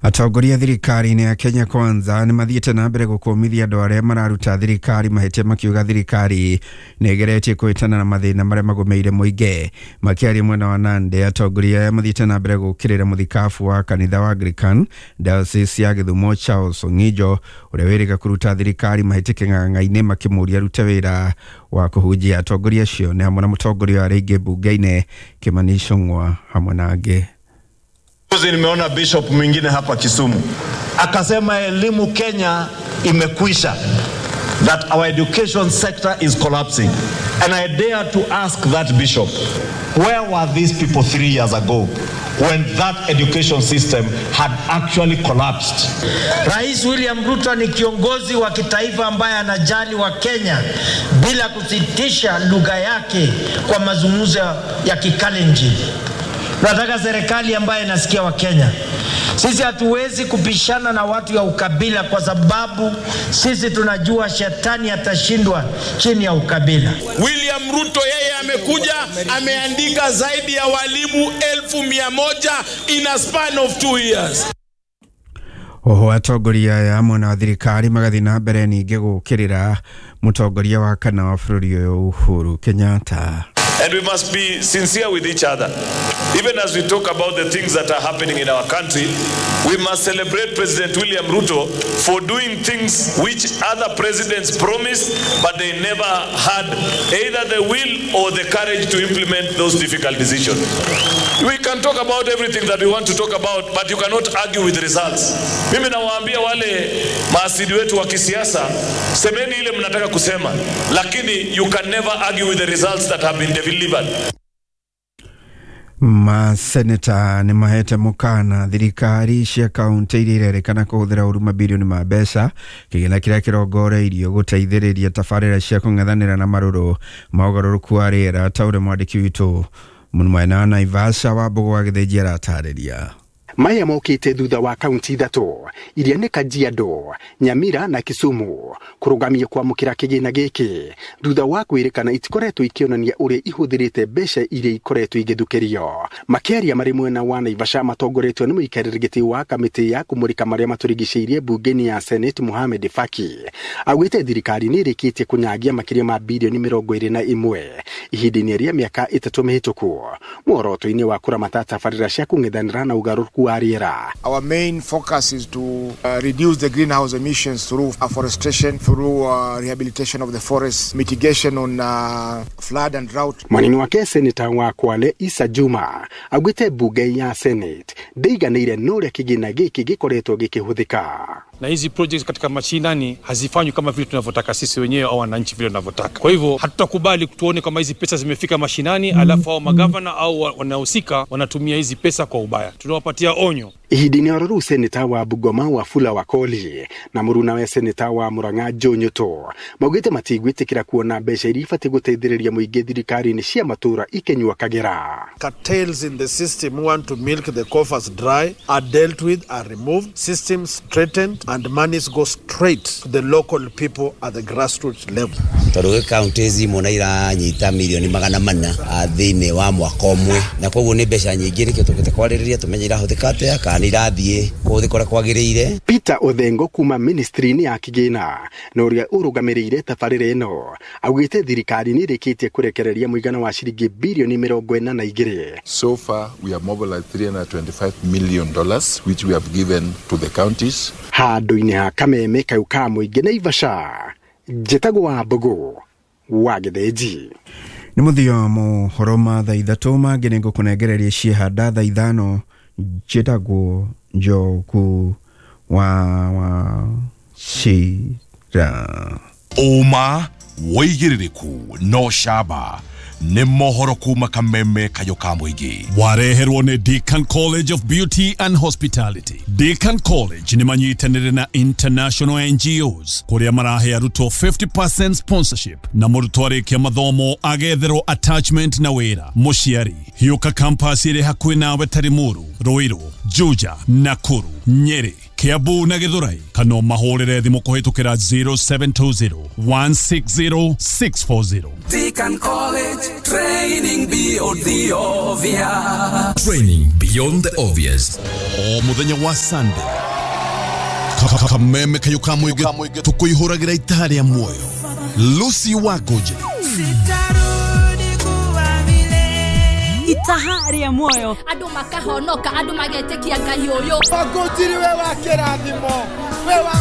Atongoria thirikari-inĩ ya Kenya Kwanza nĩ mathiĩte na mbere gũkũmithia andũ arĩa mararuta thirikari mahĩtia, makiuga thirikari nĩ ĩgeretie kũhĩtana na mathĩna marĩa magũmĩire mũingĩ. Makĩaria mwena wa Nandi, atongoria aya mathiĩte na mbere gũkĩrĩra mũthikabu wa kanitha wa Anglican Diocese ya Gĩthumo Charles Ong'ijo, ũrĩa wĩrĩga kũruta thirikari mahĩtia kĩng'ang'a-inĩ, makĩmũria arute wĩra wa kũhunjia. Atongoria acio nĩ hamwe na mũtongoria wa rĩngĩ mbunge-inĩ Kimani Ichung'wa hamwe na angĩ. Juzi nimeona bishop mwingine hapa Kisumu akasema elimu Kenya imekwisha, that our education sector is collapsing, and I dare to ask that bishop, where were these people 3 years ago when that education system had actually collapsed? Rais William Ruto ni kiongozi wa kitaifa ambaye anajali Wakenya bila kusitisha lugha yake kwa mazungumzo ya Kikalenjin. Tunataka serikali ambayo inasikia Wakenya. Sisi hatuwezi kupishana na watu ya ukabila kwa sababu sisi tunajua shetani atashindwa chini ya ukabila. William Ruto yeye amekuja, ameandika zaidi ya walimu 100,000 in a span of 2 years. Oho atongoria aya mwena wa thirikari magathiĩ na mbere ningĩ gũkĩrĩra mũtongoria wa kana wa bũrũri ũyũ Uhuru Kenyatta. And we must be sincere with each other. Even as we talk about the things that are happening in our country, we must celebrate President William Ruto for doing things which other presidents promised, but they never had either the will or the courage to implement those difficult decisions. We can talk about everything that we want to talk about, but you cannot argue with results. Mimi nawaambia wale maasidi wetu wa kisiasa, semeni ile mnataka kusema, lakini you can never argue with the results that have been delivered. Maseneta nĩ mahete mũkana thirikari cia kaunti iria irerĩkana kũhũthĩra ũru mabirioni ma mbeca kĩgĩna kĩrĩa kĩrongoreirio gũteithĩrĩria tabarĩra cia kũng'ethanĩra na marũrũ ma ũgarũrũku wa rĩera, ta ũrĩa mwandĩki witũ mwena wa Naivasha wa Mbũgũ wa Gĩthĩnji aratarĩria. Maya mokĩte thutha wa kaunti ithatũ iria nĩ Kajiado, Nyamira na Kisumu kũrũgamia kwamũkĩra kĩgĩna gĩkĩ thutha wa kwĩrĩkana itikoretwo ikĩonania ũrĩa ihũthĩrĩte mbeca iria ikoretwo igĩthukĩrio. Makĩaria marĩ mwena wa Naivasha matongoretio nĩ mũikarĩri gĩtĩ wa kamĩtĩ ya kũmũrĩka marĩa matũrigicĩirie mbunge-inĩ ya Senate Mohamed Faki, augĩte thirikari nĩ ĩrĩkĩtie kũnyagia makĩria ma birioni 21 ihinda-inĩ rĩa mĩaka 3 mĩhĩtũku muoroto-inĩ wa kũramata tabarĩra cia kũng'ethanĩra na ũgarũrũku wa rĩera. Our main focus is to reduce the greenhouse emissions through afforestation, through rehabilitation of the forests, mitigation on flood and drought. Mwanini wake seneta wa Kwale Isa Juma augĩte mbunge ya Senate ndĩiganĩire na ũrĩa kĩgĩna gĩkĩ gĩkoretwo gĩkĩhũthĩka. Na hizi projects katika mashinani hazifanywi kama vile tunavyotaka sisi wenyewe au wananchi vile tunavyotaka. Kwa hivyo hatutakubali tuone kama hizi pesa zimefika mashinani alafu hao magavana au wanahusika wanatumia hizi pesa kwa ubaya. Tunawapatia onyo. Ihinda-inĩ oro rĩu, seneta wa Bungoma Wafula Wakoli na mũrunawe seneta wa Murang'a Joe Nyutu maugĩte matigwĩtĩkĩra kuona mbeca iria ibatiĩ gũteithĩrĩria mũingĩ thirikari-inĩ cia matũũra ikĩnyua kagera. Cartels in the system who want to milk the coffers dry are dealt with, are removed, systems straightened, and monies go straight to the local people at the grassroots level. Tondũ gwĩ kaunti imwe na iranyita mirioni 400 thĩinĩ wa mwaka ũmwe, na koguo nĩ mbeca nyingĩ. Nĩkĩo tũkĩte kwarĩrĩria tũmenye irahũthĩka atĩa, kana nĩ irathiĩ kũhũthĩka ũrĩa kwagĩrĩire. Peter Othengo kuma ministry-inĩ ya kĩgĩna na ũrĩa ũrũgamĩrĩire tabarĩra ĩno augĩte thirikari nĩ ĩrĩkĩtie kũrekereria mũigana wa ciringi birioni 42. So far, we have mobilized $325 million, which we have given to the counties. Handũ-inĩ ha kameme kau ka mũingĩ Naivasha, njĩtagwo wa Mbũgũ wa Gĩthĩnji. Nĩ mũthia mohoro ma thaa 3. Mangĩ nĩ ngũkũnengereria ciehanda thaa 5. Njĩtagwo Njogu wa Wachira. Ũma, wĩigĩrĩrĩku no camba nĩ mohoro kuma kameme kayo ka mũingĩ. Wareherwo nĩ Deakin College of Beauty and Hospitality. Deakin College nĩ manyitanĩre na international NGOs kũrĩa marahe arutwo 50% sponsorship, na mũrutwo arĩkia mathomo agetherwo attachment na wĩra. Mũciari, hiũka campus ĩrĩ hakuhĩ nawe ta Limuru, Ruiru, Juja, Nakuru, Nyeri, Kiambu na Githurai kana ũmahũrĩre thimũ kũhĩtũkĩra 0720 160 640. Deacon College, training beyond the obvious. Training beyond the obvious. O muthenya wa Sunday, Kameme kayo ka mũingĩ tũkũihũragĩra itaha rĩa muoyo. Lucy Wangũnjĩri. Itaha rĩa muoyo. Andũ makahonoka, andũ magetĩkia Ngai ũyũ. Wangũnjiri we wa kĩrathimo, we wa